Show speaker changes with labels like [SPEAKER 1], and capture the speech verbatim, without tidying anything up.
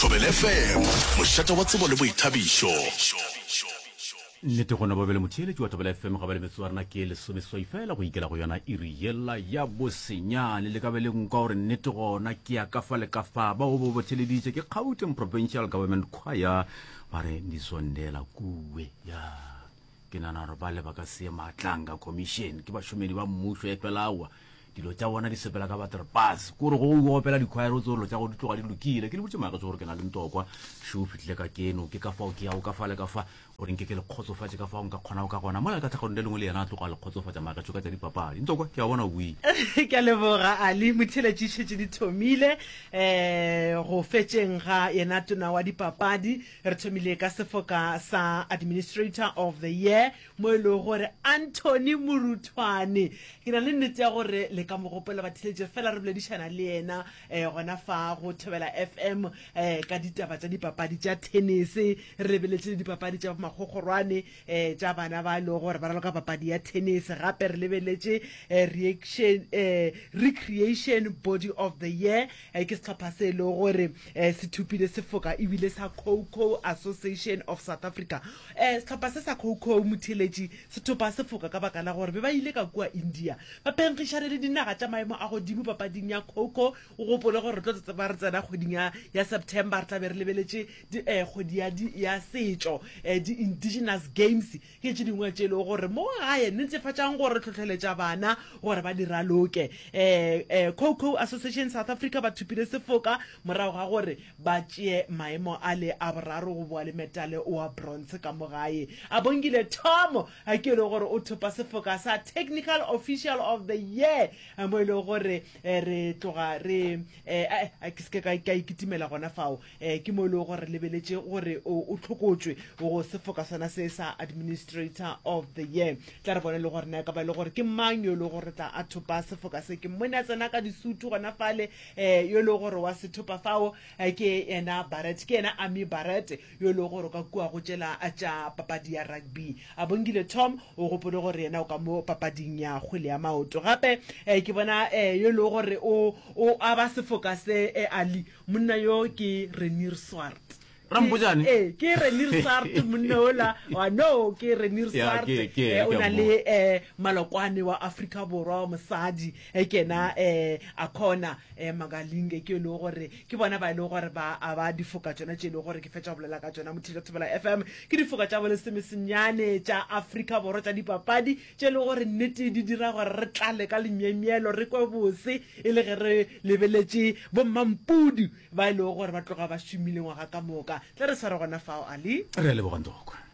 [SPEAKER 1] Thobela F M, mošate wa tsebo le boithabišo.
[SPEAKER 2] Nnete gona ba bele motheeletši wa Thobela F M, ga ba le metsotso ya rena ke lesomeseswai fela go ikela go yona iri yela ya bosenyane. Le ka be le nkwa gore nnete gona ke ya ka fa le ka fa. Bao bo botheleditše ke Gauteng Provincial Government Choir, ba re Ndisondela Kuwe. Ya ke nagana gore ba le ba ka se maatlang ka commission ke bašomedi ba mmušo, e fela aowa dilo tša bona di sepela ka baterpas kore go o opela dikhwaere o tse dilo tša go di tloga di lokile. Ke le botse magetso gore ke na le ntokwa šo o fitlhile ka keno, ke ka fao ke yago ka fa le ka fa gore nke ke le kgotsofatše ka fao nka kgonago ka gona mola ka tlhagong le lengwe le yena a tloga le kgotsofatša magetso ka tša dipapadi. Ntokwa, ke a bona o buile.
[SPEAKER 3] Ke a leboga Ali. Motheeletši, šetše di thomile um go fetšeng ga yena tona wa dipapadi. Re thomile ka sefoka sa Administrator of the Year, mo e lego gore Anthony Moruthwane, ke na le nnete ya gore le ka mo gopola batheeletši, fela re boledišana le yena um gona fa go Thobela F M um ka ditaba tša dipapadi tša tennis. Re lebeletše le dipapadi tša makgokgorwane um tša bana ba e lego gore ba raloka papadi ya tennis. Gape re lebeletše um reaction um Recreation Body of the Year, um ke sehlopha se e lego gore um se thopile sefoka ebile sa Coco Association of South Africa. um sehlopha se sa Coco, motheeletši, se thopa sefoka ka baka la gore be ba ile ka kua India ba phenkgišane le dinaga tša maemo a godimo papading ya Coco. O gopole gore re tlo tseba re tsena kgweding ya, ya September, re tla be re lebeletše eh, kgwedi ya, ya setšo, eh, di-indigenous games ke tše dingwe tše e lego gore mo gae netefatšang gore tlhotlheletša bana gore ba di raloke. eh, eh, Coco Association South Africa ba thopile sefoka morago ga gore ba tšee maemo a le a boraro go boa le metale wa bronze ka mo gae. A Bongile Tom a ke e le gore o thopa sefoka sa Technical Official of the Year, mo e lego gore re tloga re ke se ke ka ikitimela gona fao, ke mo e lego gore lebeletše gore o tlhokotšwe go sefoka sona se sa Administrator of the Year. Tla re bone le gore na e ka ba e le gore ke mang yo e lego gore tla a thopa sefoka se. Ke mmone a tsena ka disutu gona fale, um yo e lego gore wa se thopa fao ke yena Barrett, ke yena Ami Barrett yo e lego gore ka kua go tšela tša papadi ya rugby. A Bongile Tom o gopole gore yena o ka mo papading ya kgwele ya maoto. Gape um ke bona um yo e lego gore o o aba sefoka se, um Ali, monna yo ke Renir Swart.
[SPEAKER 2] Rampojane.
[SPEAKER 3] Ee, ke Renir Swart, monna ola wa no ke Renir Swart, o na le um malokwane wa Afrika Borwa wa mosadi, ke yena um Akona um Magalinge, ke e lego gore ke bona ba e lego gore ba aba difoka tšona tše e lego gore ke fetša go bolela ka tšona. Motheetša Thobela F M, ke difoka tša bolesomesenyane tša Afrika Borwa tša dipapadi tše e lego gore nnete di dira gore re tlale ka lemyemyelo, re kwe bose e le ge re lebeletše bommampudi ba e lego gore ba tloga ba šomile ngwaga ka moka. Tla re sware gona fao, Ali.
[SPEAKER 2] Re a leboga, Ntokwe.